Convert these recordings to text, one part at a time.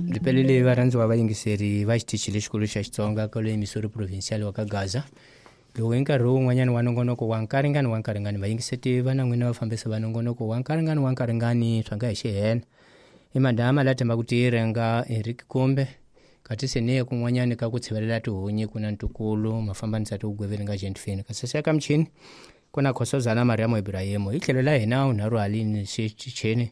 Byi pelele varhandziwa vayingiseri va xitichi lexikulu xa Xitsonga kwale Missouri Provincial wa ka Gaza. Lowu i nkarhi wun'wanyana wa nongonoko wa nkaringani wa nkaringani vayingiseti va na n'wina vafambisi va nongonoko wa nkaringani wa nkaringani swa nga hi xihena. I madama la tshembaka ku tirhenga Eric Kumbe kasi se ni kun'wanyani ka ku tshivelela tihunyi ku na ntukulu mafambanisa tiwugweveli nga Gentfin kasi se ka michini ku na Khosozana Mariam Ibrahim hi tlhelo la hina unharhu halini xichini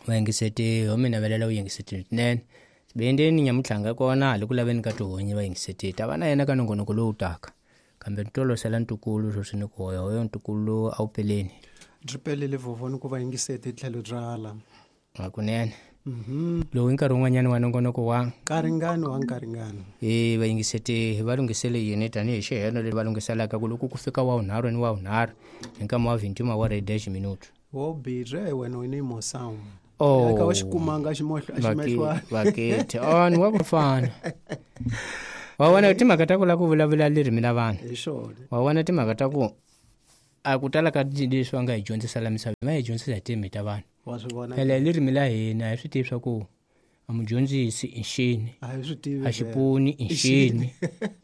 vayingiseti ho mi navelela u yingiseti swinene sibendeni nyamutlhanga kona hali ku laveni ka tihunyi vayingiseti ta va na yena ka nongonoko lowu taka kambe ni tolosela ntukulu sweswi ni ku hoya hoyo ntukulu a wu peleni byi pelele vovoni ku va yingiseti tlhelo bya la hakunene lowu i nkarhi wun'wanyana wa nongonoko wa nkaringani wa nkaringani e vayingiseti va lunghisele yini tanihi xiheno leri va lunghiselaka ku loko ku fika wa vunharhu ni wa vunharhu hi nkama wa 21 wa 10 minuto wo bire wena u ni mosound Oh. ka wa xikumanga ximohlo ximehlwana vakete on wa ku fana wa vona timhaka ta ku lava ku vulavula ririmi la vanhu hi xona wa vona timhaka ta ku a ku tala ka leswi va nga hi dyondzisa la misaveni va hi dyondzisa hi tindzimi ta vanhu wa swi vona phela hi ririmi la hina hi swi tivi swa ku a mudyondzisi i nxini a hi swi tivi a xipuni i nxini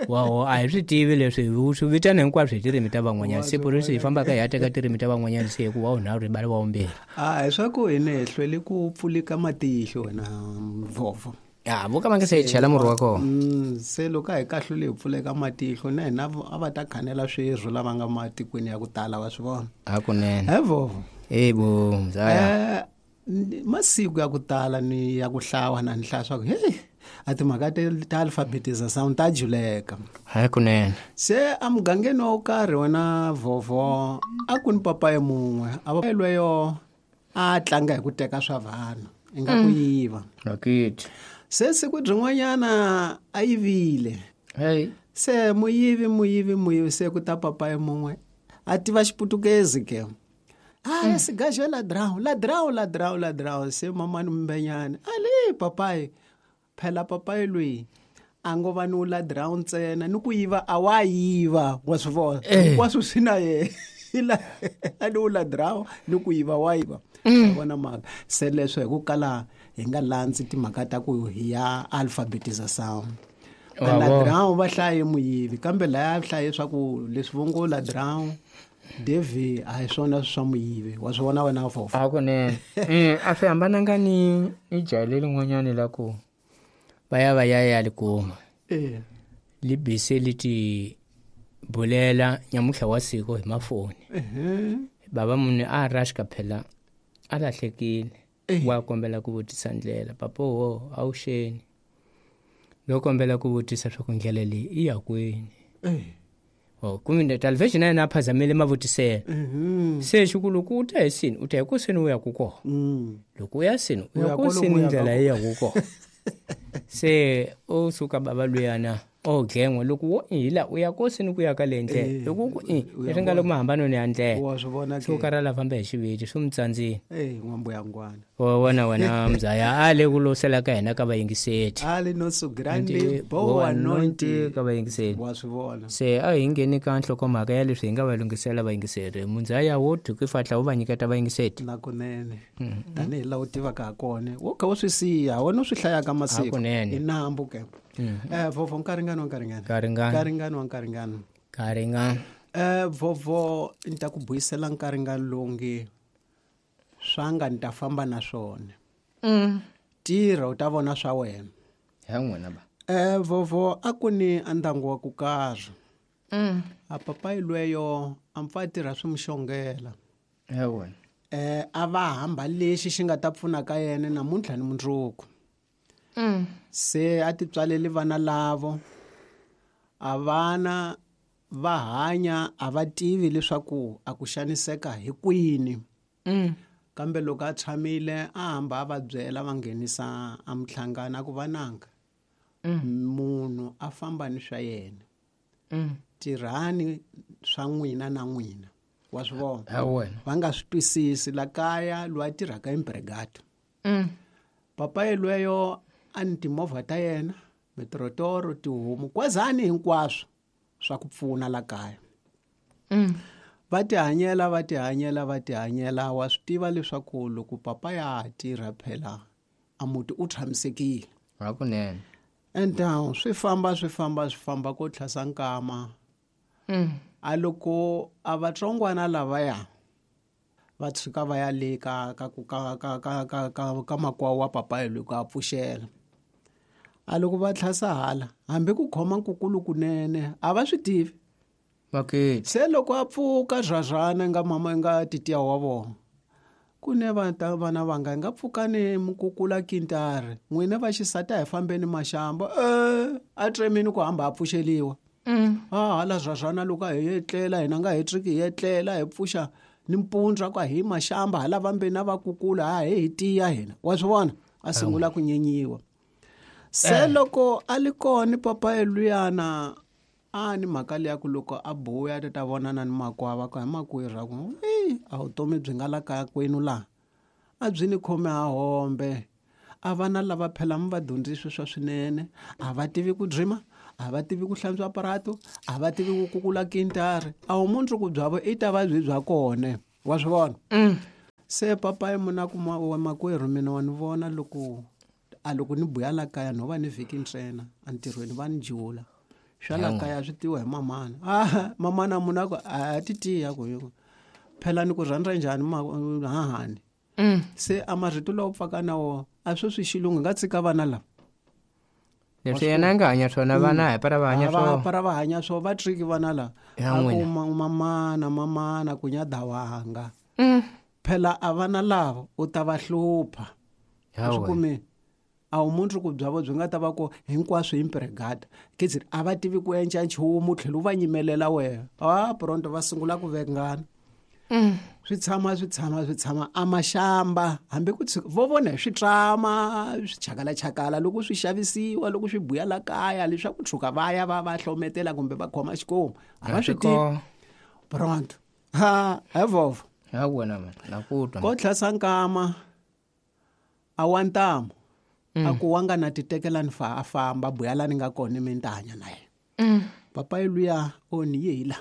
waho a hi swi tivi leswi hi swi vitana hinkwaswo hi tirimi ta van'wanyana se purisi hi fambaka hi ya teka tirimi ta van'wanyana se hi ku wa vunharhu hi bala wa vumbirhi a hi swa ku hina hi hlwele ku pfulika matihlo wena vovo ya vo ka va nga se hi chela murhi wa kona Se loko a hi kahlule hi pfuleka matihlo na hina a va ta khanela swirho lava nga matikweni ya ku tala wa swi vona hakunene he vovo e bo mzaya Masiku ya ku tala ni ya ku hlawa na ni hlaya swa ku heyi a timhaka ta alphabetization ta juleka hakunene se emugangeni wo karhi wena vovo a ku ni papayi mun'we a va lweyo a tlanga hi ku teka swa vanhu i nga ku yiva rakiti se siku byin'wanyana a yivile hey se muyivi muyivi muyivi se ku ta papayi mun'we a tiva xiputukezi ke a sigaxe ladrão ladrão ladrão ladrão se mamani mbenyani ali papayi phela papayi loyi a ngo va ni wu ladrão ntsena ni ku yiva a wa yiva wa swi vona hinkwaswo swi na yena a ni wu ladrão ni ku yiva wa yiva wa vona mhaka se leswo hi ku kala hi nga landzi timhaka ta ku hi ya alphabetization Wa vona. ladrão va hlaye muyivi kambe laya hlaye swa ku leswi vo ngo ladrão devi a hi swona swa muyivi wa swi vona wena fofo hakunene a swi hambananga ni ni jaha lerin'wanyani la ku va ya va ya ya li kuma e li bise li ti bulela nyamutlha wa siku hi mafoni baba munhu a rashka phela a lahlekile wa kombela ku vutisa ndlela papa wo a wu xeni no kombela ku vutisa swa ku ndlela leyi i ya kwini oh kumbe talvexi na yena a phazamile mavutiselo se xiku loko u ta hi sini u ta hi ku sini u ya ku kona loko u ya sini u ya ya ku kwalomu sini u yaka ndlela yi ya ku kona se u suka baba luyana o gengwa loko wo i la u ya ko sini ku ya ka le ndlela loko ku i leswi nga le mahambanweni ya ndlela wa swi vona se u karhala famba hi xiviti swi mu tsandzile e n'wambuyangwana wa vona wena mzaya a le ku losela ka hina ka vayingiseti ali nosso grande boa noite ka vayingiseti wa swi vona se a hi ngheni ka nhlokomhaka ya leswi hi nga va lunghisela vayingiseri mundzaya wo thukifatla wu va nyiketa vayingiseti na kunene tanihi laha u tivaka ha kona wo kha u swi siya wena u swi hlayaka masiku Hakunene. i nambu ke vovo nkaringani wa nkaringani Nkaringani. nkaringani wa nkaringani nkaringani vovo ni ta ku buyisela nkaringani lowu nge swa nga ni ta famba na swona tirha u ta vona swa wena ya n'wina ba vovo a ku ni a ndyangu wa ku karhi a papayi lweyo a mpfa a tirha swi mu xongela ya wena A va hamba lexi xi nga ta pfuna ka yena namuntlha ni mundzuku se a ti tswaleli vana lavo a vana va hanya a va tivi leswaku a ku xaniseka hi kwini kambe loko a tshamile a hamba a va byela va nghenisa a muhlangano a ku vananga munhu a famba ni swa yena tirhani swa n'wina na n'wina wa swi vona ya wena va nga swi twisisi la kaya loyi a tirhaka embrigado papa yelweyo a ni timovha ta yena mitirotoro tihomu kwazani hinkwaswo swa ku pfuna la kaya va tihanyela va tihanyela va tihanyela wa swi tiva leswaku loko papa ya ha tirha phela a muti u tshamisekile. Hakunene. And swi famba swi famba swi famba ko tlhasa nkama. A loko a vatsongwana lavaya va tshuka va ya le ka ka ka ka ka ka ka ka makwawo wa papayi loko a pfuxela. A loko va tlhasa hala hambi ku khoma nkukulu kunene a va swi tivi. Okay. Se loko a pfuka zvazvana nga mama nga titiya wa vona. Ku ne vana vanga nga pfuka ni mukukula kintari n'wina va xisati a hi fambeni maxamba a tremini ku hamba a pfuxeliwa. A hala zvazvana loko a hi etlela hina nga hi triki hi etlela hi pfuxa ni mpundza ku hi maxamba hala vambeni a va kukula a hi tiya hina wa swi vona a sungula ku nyenyiwa. Se loko a li kona papa luyana a ni mhaka leya ku loko a buya ta vonana ni makwava ku hi makwerhu a ku a vutomi byi nga la kaya kwenu laha a byi ni khome a hombe a vana lava phela mi va dyondzisi swa swinene a va tivi ku drima a va tivi ku hlantswa aparato a va tivi ku kukula kintari a wu mundzuku byavo i ta va byi bya kona wa swi vona. Se papayi muna ku wa makwerhu mina wa ni vona loko a loko ni buya la kaya no va ni vhiki ntsena entirhweni va ni jula swa la kaya swi tiwa hi mamana. A mamana muna ku a ti tiya ku phela ni ku rhandza njhani hahani. Se a marito lawa pfaka na wona a swo swi xilungu nga tshika vana lava leswi yena a nga hanya swona vana hi para va hanya swona para va hanya swona va triki vana lava a ku mamana mamana ku nya dawanga. Phela a vana lava u ta va hlupha. Swi kumi a wu mundzuku byavo byi nga ta va ku hinkwaswo hi mpregada kids a va tivi ku endla nchumu tlhela u va nyimelela wena a pronto va sungula ku vengana. Swi tshama swi tshama swi tshama a maxamba hambi ku vo vona hi switrama swi chakalachakala loko swi xavisiwa loko swi buya la kaya leswaku tshuka va ya va va hlometela kumbe va khoma xikomu a va swi tivi pronto. Ha evova ya wena man na ku twa ko tlhasa nkama a wa ntamu a ku wa nga na titekela ni fa a famba buya la ni nga kona mi ni ta hanya na yena. Papayi luya o ni ye hi la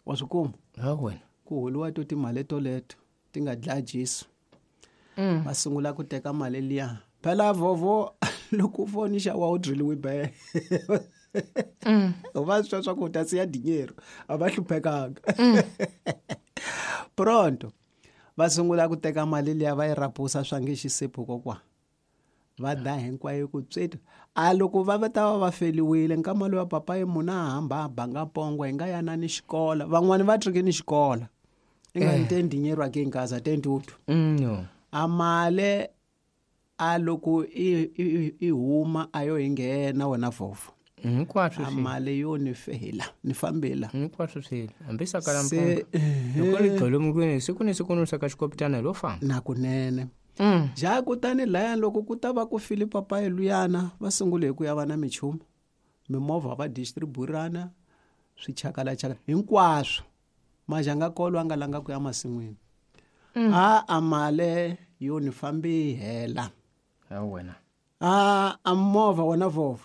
wa swi kuma ya wena ku holiwa to timali toleto ti nga dlaya Jesu. Va sungula ku teka mali liya phela vovo loko foni xa wa u driliwe be va swi swa ku ta siya dinero a va hluphekanga. Pronto va sungula ku teka mali liya va yi rapusa swa nge xisipho kokwa va da hinkwayo ku tsweta a loko va va ta va va feliwile nkama lowa papayi muna a hamba a banga pongo hi nga ya na ni xikola van'wani va trike ni xikola i nga ni tendinyerwa ke nkaza tentutu. A male a loko i huma a yo hi nghena wena vovho hinkwaswo a mali yo ni fela ni fambela hinkwaswo swilo hambi saka la mpunga loko ri gqwele mukweni siku ni siku ni saka xikopitana hi lo famba na kunene. Ja kutani laya loko ku ta va ku file papayi luyana va sungule hi ku ya va na michumu mimovha va distribuirana swichakalachakala hinkwaswo majanga kolo a nga langa ku ya masin'wini. A a male yo ni fambi hela ya wena a a movha wena vovho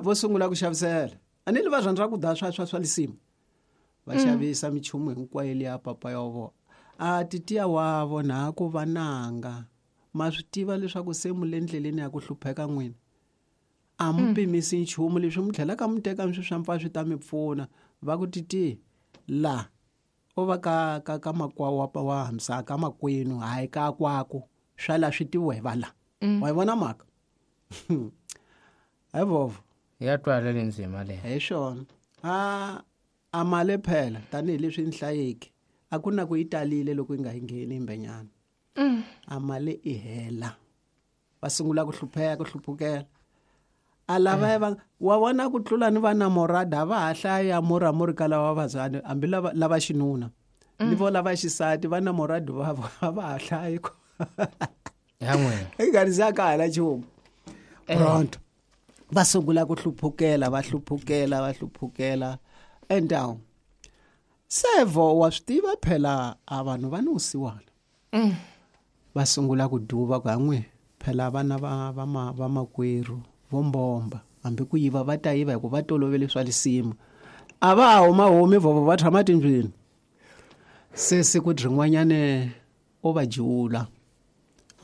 vo sungula ku xavisela a ni li va rhandza ku da swa swa swa lisimu va xavisa michumu hinkwayo liya papa ya vona a titiya wa vona ku vananga ma swi tiva leswaku se mu le ndleleni ya ku hlupheka n'wina a mu pimisi nchumu leswi mu tlhelaka mu teka swi swa mpfa swi ta mi pfuna va ku titi la o va ka ka ka makwawo wa hamsa ka makwenu hayi ka kwaku swa la swi tiviwa hi va la. Wa yi vona mhaka hi vovho ya twala le ndzima le hi swona a a mali phela tanihileswi ni hlayeke a ku na ku yi talile loko yi nga yi ngheni imbenyana. A mali i hela va sungula ku hlupheka ku hluphukela a lava va wa vona ku tlula ni va namorada va ha hlaya muramuri ka lava vazani hambi lava lava xinuna ni vo lava xisati va namoradi va va ha hlayi ku ya n'wina i nga ri ka hala nchumu. Pronto va sungula ku hluphukela va hluphukela va hluphukela endawu sevo wa swi tiva phela a vanhu va ni vusiwana. Va sungula ku duva ku han'we phela vana va va va makwerhu vo mbomba hambi ku yiva va ta yiva hikuva va tolovele swa lisimu a va ha huma humi vovo va tshama tindlwini. Se siku rin'wanyane o va jula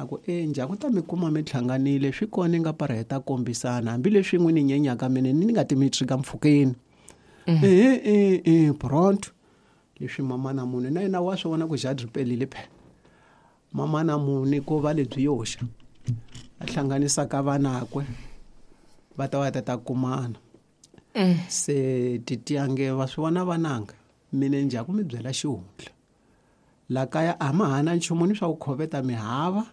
A ku e njhaku ta mi kuma mi hlanganile swi kona nga para hi ta kombisana hambileswi n'wi ni nyenyaka mina ni nga ti mi trika mpfhukeni. Pronto leswi mama na munhu na yena wa swi vona ku jadri pelile phela. Mama na munhu ko va lebyi yoxa a hlanganisaka vanakwe va ta va ta kumana. Se titiyange va swi vona vananga mina njhaku mi byela xihundla. La kaya a ma hana nchumu ni swa ku khoveta mihava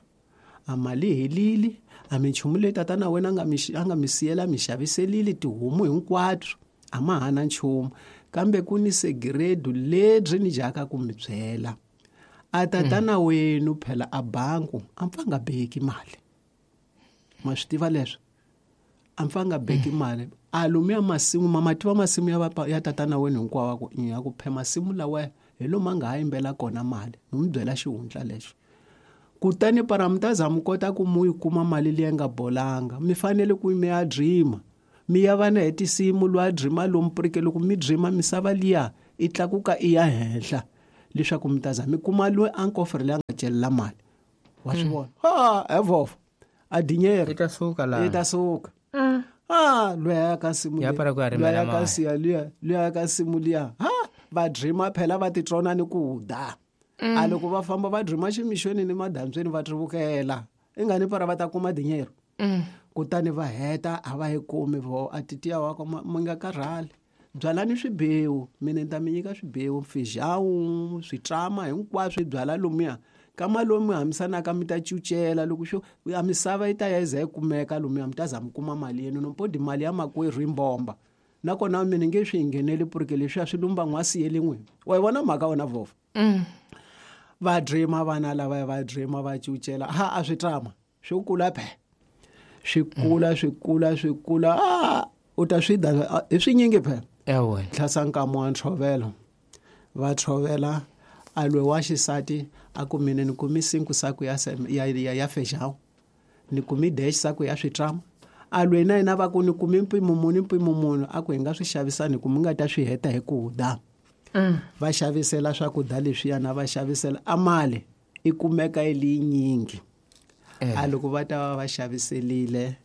a mali helile a minchumu leyi tatana wena a nga mi siyela mi xaviselile tihomu hinkwato a ma hana nchumu kambe ku ni segiredu lebyi ni dyaka ku mi byela a tatana wenu phela a banku a pfa nga beki mali ma swi tiva leswo a pfa nga beki mali a lomuya masimu ma tiva masimu ya tatana wenu hinkwawo ku ya ku phe masimu lawa hi lomu a nga ha yimbela kona mali ni mi byela xihundla lexo. Kutani para mi ta za mi kota ku mu yi kuma mali leyi nga bolanga mi fanele ku mi ya dreama mi ya vana hi tinsimu lwa dreama lomu prike loko mi dreama misava liya i tlakuka i ya henhla leswaku mi ta za mi kuma loyi a nkofere leyi a nga celela mali wa swi vona ha evova a dinyero yi ta suka la yi ta suka. Loyi ka nsimu ya para ku ya rimela mali luya ka nsimu liya ha va dreama phela va titrona ni ku da. A loko va famba va dreama ximixweni ni madambyeni va trivukela i nga ni para va ta kuma dinyero. Kutani va heta a va yi kumi vo a titiya wa mi nga karhali byalani swibewu mina ni ta mi nyika swibewu fijawu switrama hinkwaswo byala lomuya kama lomu hamisanaka mi ta cucela loko xo a misava yi ta ya yi za yi kumeka lomuya mi ta za mi kuma mali yenu nompodi mali ya makwerhu yi mbomba nakona mina nge swi ngheneli purike leswiya swi lumba n'wasi ye lin'we wa yi vona mhaka wena vova. Va dreama vana lava va dreama va cucela ha a swi trama swi kula phe swi kula swi kula swi kula u ta swi da hi swinyingi phe. Tlhasa nkama wa ntshovelo va tshovela a lwe wa xisati a ku mina ni kumi 5 saku ya fejawu ni kumi dash saku ya switrama a lwe na yena va ku ni kumi mpimo muni mpimo muni a ku hi nga swi xavisani ku mi nga ta swi heta hi ku da. Va xavisela swakudya leswiyana va xavisela a mali i kumeka yi li yinyingi. A loko va ta va va xaviselile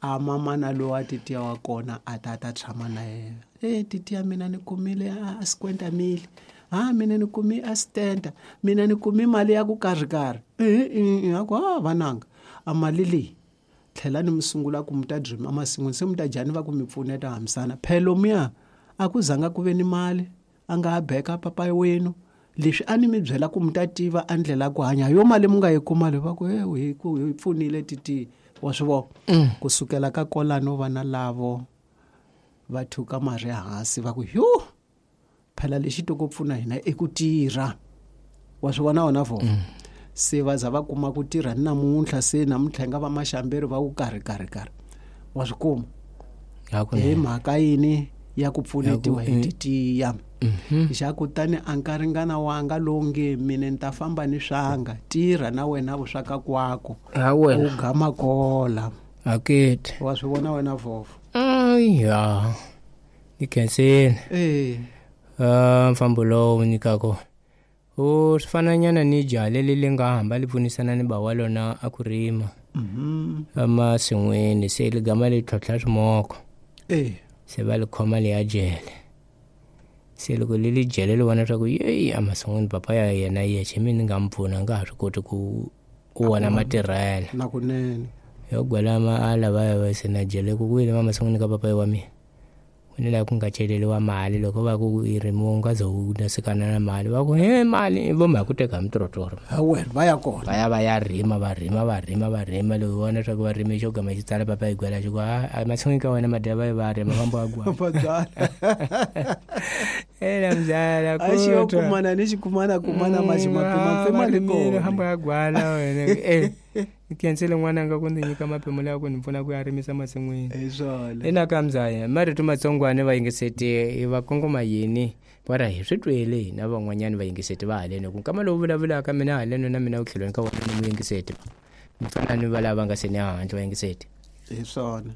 a mamana lowa titiya wa kona a ta ta tshama na yena. Titiya mina ni kumile a 50 mili ha mina ni kumi a 70 mina ni kumi mali ya ku karhi karhi. A ku vananga a mali leyi tlhela ni mi sungula ku mi ta dream emasin'wini se mi ta dyani va ku mi pfuneta hambisana phelo muya a ku zanga ku ve ni mali a nga ha beka papa wenu leswi a ni mi byela ku mi ta tiva a ndlela ku hanya yo mali mi nga yi kuma le va ku hi pfunile titi wa swi vona. Kusukela ka kolano vana lavo va thuka marhi hansi va ku yo phela lexi to ku pfuna hina i ku tirha wa swi vona wona vo. Se va za va kuma ku tirha ni namuntlha se namuntlha nga va maxamberi va ku karhi karhi karhi wa swi kuma hi mhaka yini ya ku pfunetiwa hi titiya. Xa kutani a nkaringana wanga lowu nge mina ni ta famba ni swanga tirha na wena vuswaka kwako u gama kola akete wa swi vona wena vhovo. Ya ni khensile mfambo lowu nyikako u swi fananyana ni jaha leri li nga hamba li pfunisana ni ba wa lona a ku rima emasin'wini se li gama li tlhontlha swimoko se va li khoma li ya jele se loko li li jele li vona leswaku yeyi emasin'wini papa ya yena yexe mina ni nga mi pfuna nga ha swi koti ku vona matirhelo na kunene yo gwela a lava va se na jele ku wile emasin'wini ka papa wa mina ni la ku nga celeriwa mali loko va ku i rimiwa u nga ze u nasekana na mali va ku he mali vo mhaka ku teka mitorotoro wena va ya kona va ya va ya rima va rima va rima va rima loko vona leswaku va rime xo gama xi tsala papa hi gwela xi ku a masin'wini ka wena madya va va rima va mbo a gwala ela mzala a xi yo kumana ni xi kumana kumana ma xi mapima pima li kona hambo ya gwala wena Khensile n'wananga ku ndzi nyika mapimo lawa ku ni pfuna ku ya rimisa masin'wini. Hi swona. Ina ka mzaya marito matsongwana va yingiseti va kongoma yini va ra hi swi twele hina van'wanyani va yingiseti va haleno ku nkama lowu vulavulaka mina haleno na mina utlhelweni ka wona ni muyingiseti mi fana ni va lava nga se ni handle va yingiseti. Hi swona.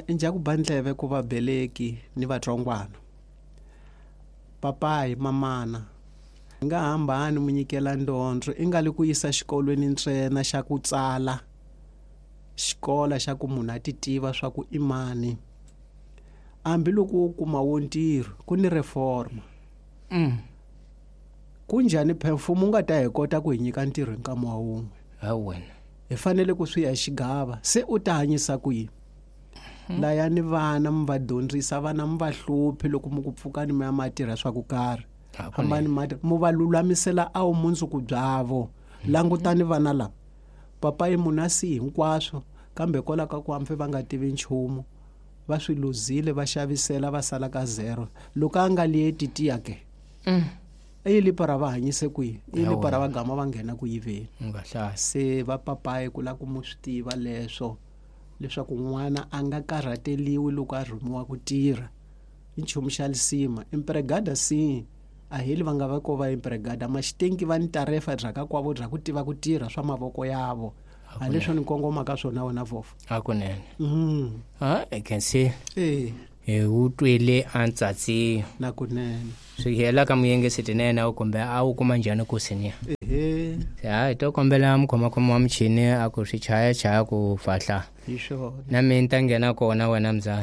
Njha ku ba ndleve ku vabeleki ni vatsongwana. Papayi mamana Nga hambani mu nyikela ndondzo i nga li ku yisa xikolweni ntsena xa ku tsala xikola xa ku munhu a ti tiva swa ku i mani. Hambiloko wo kuma wo ntirho ku ni reforma. Kunjhani phe mfumo wu nga ta hi kota ku hi nyika ntirho hi nkama wa wun'we? Hawu wena. Hi fanele ku swi ya hi xigava se u ta hanyisa ku yini? Layani vana mi va dyondzisa vana mi va hluphi loko mi ku pfukani mi ya ma tirha swa ku karhi. Hambani ma mu va lulamisela a vumundzuku byavo. Langutani vana lava papa i munhu a si hinkwaswo kambe kwala ka ku hambi va nga tivi nchumu va swi luzile va xavisela va sala ka zero. Loko a nga lieti tiya ke i lipa ra va hanyise kwihi? I lipa ra va gama va nghena ku yiveni. Se va papayi ku lava ku mu swi tiva leswo leswaku n'wana a nga karhateliwi loko a rhumiwa ku tirha. I nchumu xa lisima empregada si a heli va nga va ko va empregada maxitenki va ni tarefa bya ka kwavo bya ku tiva ku tirha swa mavoko yavo. A leswo ni kongoma ka swona wena vofo. Hakunene. I can see. Hi wu twile a ntsatsi na kunene. Swi hela ka muyengisi tinene a kumbe a wu kuma njhani ku sinia? Hi to kombela mukhomakhoma wa muchini a ku swi chaya chaya ku fahla. Hi swona. Na mina ni ta nghena kona wena mzala.